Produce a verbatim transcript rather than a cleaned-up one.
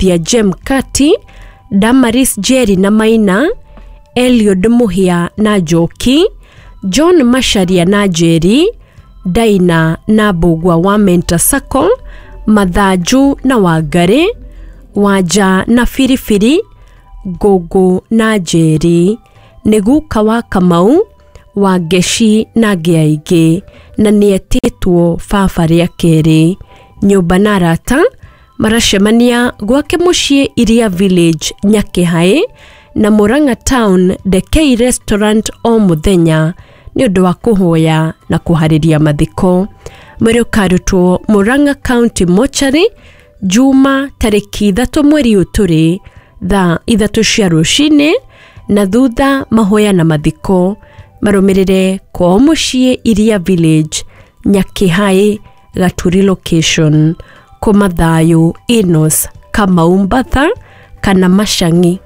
Muthia Jem Kati, Damaris Jerry na Maina, Eliud Muhia na Njoki, John Macharia na Njeri, Daina na Mbũgua wa Mentor Sacco, Mathanju na Wangarĩ, Wanja na Biribiri, Ngũngũ na Njeri, nĩ guka wa Kamau, Wangeci na angĩ aingĩ, na nĩetĩtwo baba rĩa kerĩ. Nyũmba na arata maracemania gwake mũciĩ Iria Village Nyakĩhaĩ na Murang'a Town Dekei Restaurant o mũthenya nĩ ũndũ wa kũhoya na kũharĩria mathiko. Mwĩrĩ ũkarutwo Murang'a County Mortuary Juma tarĩki ithatũ mweri ũyũ tũrĩ thaa ithatũ cia rũcinĩ, na thutha mahoya na mathiko marũmĩrĩre kwao mũciĩ Iria Village Nyakĩhaĩ Gaturi location. Kũma thayũ Enos Kamau Mbatha kana Macang'i.